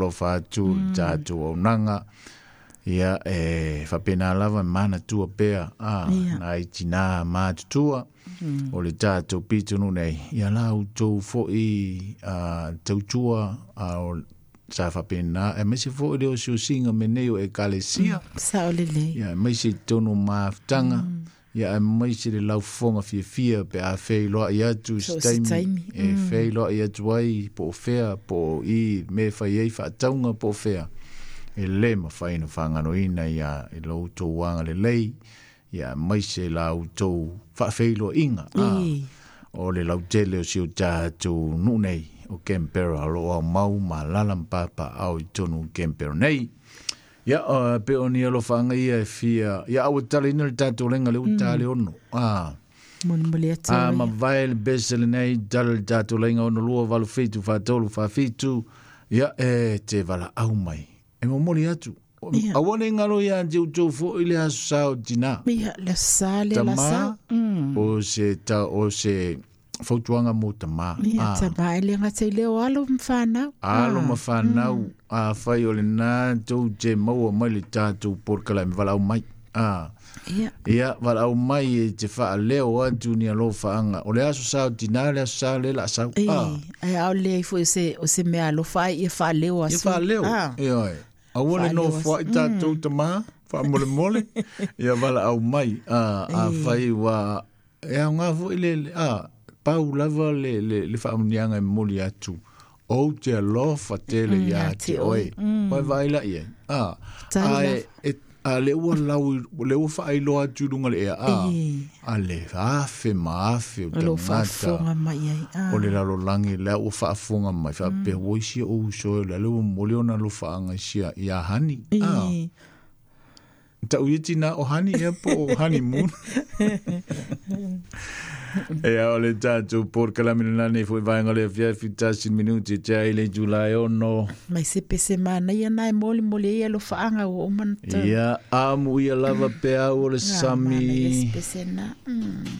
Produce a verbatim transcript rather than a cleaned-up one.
Faalofa atu le tatou auaunaga. Ia e faapena lava manatua pea a Ia. nai tinā matutua o le tatou pitonuu nei, ia la outou fo'i a tautua a o sa faapena, aemaise foi le osiosiga me nei o ekalesia. Sao lelei. Ia aemaise i totonu o mafutaga, ia aemaise le laufofoga fiafia pe a feiloai atu i So se se taimi taimi. e feiloai atu ai po o fea po o i me fai ai faatauga po o fea e lē mafai ona fagaloina ia i lo outou agalelei, ia aemaise la outou faafeiloaiga a Ī. o le lautele o si o tatou nuu nei o Canberra o loo aumau ma alaala ma papaao i totonu o Canberra nei. Ia uh, pe o ni alofaaga ia e fia ia aua taleina le tatou lega le ua le ono a Molimoli atu a ai. mavae le pese lenei tala le tatou laiga ono lua valu fitu faatolu faafitu ia e te valaau mai e momoli atu. Ia. Aua ne galo iā te outou fo'i le aso sa o tinā Ia, le sa le la sa. tamā Mm. o se ta o se fautuaga mo tamā Ia, a tamā e le gata i leo alo ma whanau. alo ma fanau afai o lenā tou te maua mai le tatou polokalame valaau mai a Ia, ia valaau mai e te faaleo atu ni alofaaga o le aso sa o tinā le aso sa le laasau e, a ai au le ai foi o se, o se mea alofa ai ia whaaleo ia aso. faaleo Ah, ioe aua le Faaleo nofoaʻi tatou tamā faamolemole ia valaau mai a afai ua e aogā foʻi le le- a pau lava le le le faamuniaga e momoli atu ou te alofa tele Mm, iā ia te te oe oe. oe vaai laʻi ai a Tai ae e a le ua lau le ua faailoa atu i luga le ea a E. a le afe ma afe o O lo tagata whaafonga mai ai. Ah. o le lalolagi lea ua faafofoga mai faapea ua isi ou uso e le ua momoli ona alofaaga i sia iā hani a E. tau ia tinā o hani ea po o honeymoon Ea o le tatou polokalame lenā nei fo'i vaega o le afiafi tasi minuti te ai le itulā e ono Mai se pese mana ia nai moli moli ai alofaaga ua uma na tau. ia amu ia lava peau o le Ah, mana ia se sami pese na. Mm.